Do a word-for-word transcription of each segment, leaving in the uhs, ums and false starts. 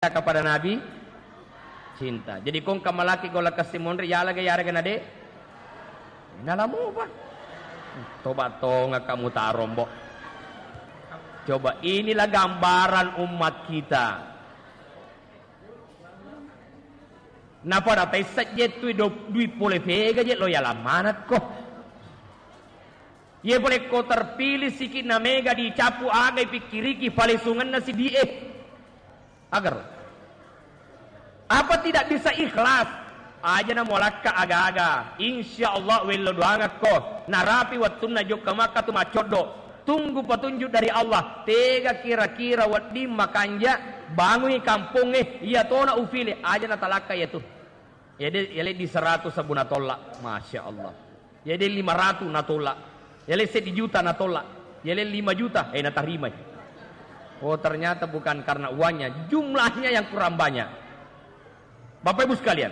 kepada Nabi, cinta. Jadi kong kamalaki golla kessi monri, yala ga yarega nade? Nalamu apa? Toba tonga kamu tarombo. Coba, inilah gambaran umat kita. Napada tessa jettui do-, dui pole pega je lo yala manakko. Ye pole ko terpilih sikit na mega dicapu, aga ipikkiriki palesungenna sidi'e. Agar apa tidak bisa ikhlas? Aja na molakka aga-aga. Insya Allah wello doangakko. Narapi wettunna jokka makka tu maccoddo. Tunggu petunjuk dari Allah. Tega kira-kira wedding makanja bangungi kampongnge. Iya tona ufile. Aja na talakka iya tu. Yade, yale di seratus sabu natolak. Masya Allah. Yade lima ratus natolak. Yale seddi juta natolak. Yale lima juta, eh, natarimai. Oh, ternyata bukan karena uangnya, jumlahnya yang kurang banyak. Bapak Ibu sekalian.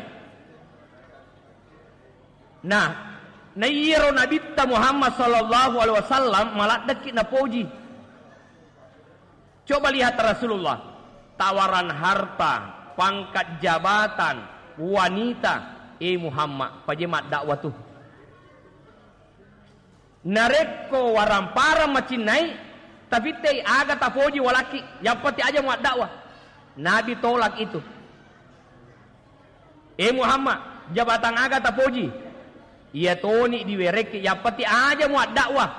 Nah, na iyaro Nabitta Muhammad sallallahu alaihi wasallam maladdeki napoji. Coba lihat Rasulullah, tawaran harta, pangkat jabatan, wanita, eh Muhammad, paje maddakwah tu. Narekko waramparang macinnai, tafittei aga tapoji walaki, yappati aja muaddakwah. Nabi tolak itu. Eh Muhammad, jabatan aga tapoji? Iya toni diwerekki, yappati aja muaddakwah.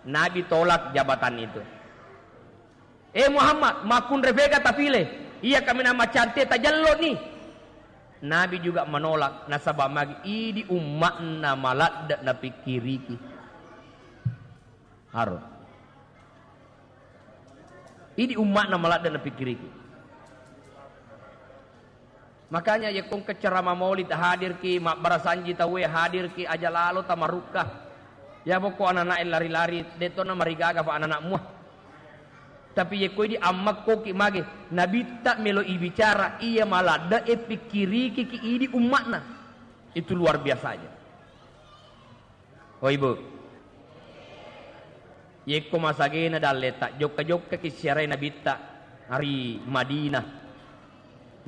Nabi tolak jabatan itu. Eh Muhammad, makkunre fega tafile? Iya kaminang macantik tajello ni. Nabi juga menolak, nasaba magi idi umma'na maladde napikkiriki. Haro. Idi umma'na maladde napikkiriki. Makanya, yakko engka ceramah maulid hadirki, mabbarasanji tauwe hadirki, aja lalo tamarukka. Ya pokok anak-anak lari-lari, detto na marigaga fa anak-anak mua. Tapi yakko idi ammakkoki mage, nabitta melo ibicara, iya maladde e pikkiriki ki idi umma'na. Itu luar biasa aja. Oh, Ibu. Yekko masagena dalleta, jokka-jokkaki siarai Nabitta ri Madinah.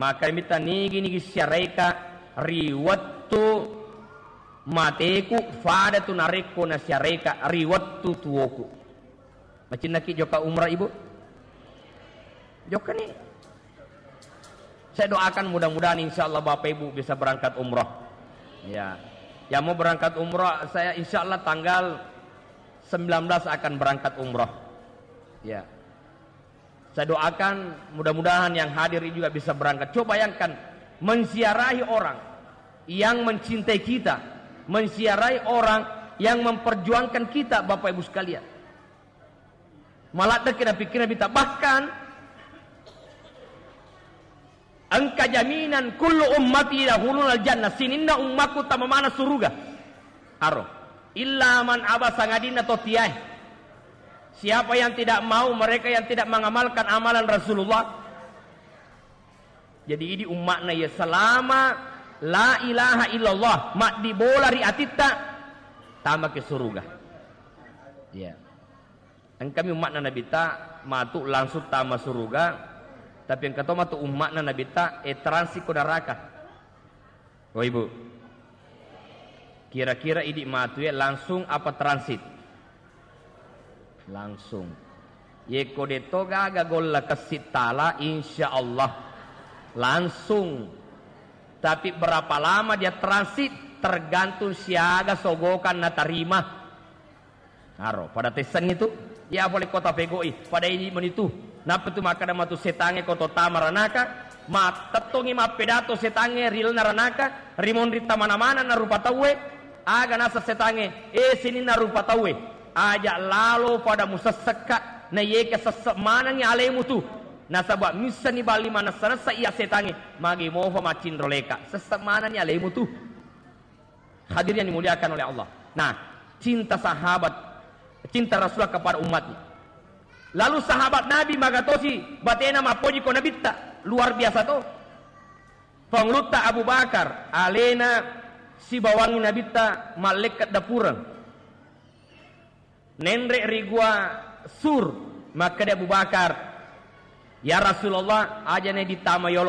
Maka Nabitta, "Nigi-nigi siaraika ri wettu mateku, fada tu narekko nasiaraika ri wettu tuoku." Macinnaki jokka umrah, Ibu? Jokkani. Saya doakan mudah-mudahan insya Allah Bapak Ibu bisa berangkat umroh. Ya. Yang mau berangkat umroh, saya insya Allah tanggal sembilan belas akan berangkat umroh. Ya. Saya doakan mudah-mudahan yang hadir ini juga bisa berangkat. Coba bayangkan, menziarahi orang yang mencintai kita, menziarahi orang yang memperjuangkan kita, Bapak Ibu sekalian. Maladdeki napikkiri Nabitta. Bahkan engka jaminan kullu ummati yadkhulunal jannah, sininna ummakku tama maneng suruga. Aro. Illa man aba, sangadinna to tiae. Siapa yang tidak mau, mereka yang tidak mengamalkan amalan Rasulullah. Jadi idi umma'na iya selama la ilaha illallah maddibola ri atitta, tamaki suruga. Iya. Engkami umma'na Nabitta matu langsung tama suruga, tapi engka to matu umma'na Nabitta, eh, transit ko neraka. Oh, Ibu. Kira-kira idi matu ya langsung apa transit? Langsung. Yekko deto gaga golla kessi tala, insya Allah langsung. Tapi berapa lama dia transit? Tergantung siaga sogokan natarima. Aro, pada tessangngi tu, iya pole kota pegoi, pada idi meni tu. Nappa tu makkeda matu setangnge ko to tama ranaka, mattettongi mappedato setangnge ri lalenna ranaka, ri monri tamana-mana na rupa tauwe, aga naseng setangnge, eh sininna rupa tauwe, aja lalo pada musessekka, na yeke sesse manengngi alemu tu. Nasaba missani bali manessa-nessa iya setangnge, magi mofa maccinro leka, sesse manengngi alemu tu. Hadirin yang dimuliakan oleh Allah. Nah, cinta sahabat, cinta Rasulullah kepada umatnya. Lalu sahabat Nabi magatosi batena mappoji ko Nabitta, luar biasa to. Pangulutta Abu Bakar, alena sibawangi Nabitta mallekka dapureng. Nenre ri gua Sur, makkeda Abu Bakar, "Ya Rasulullah, aja ne ditama yolo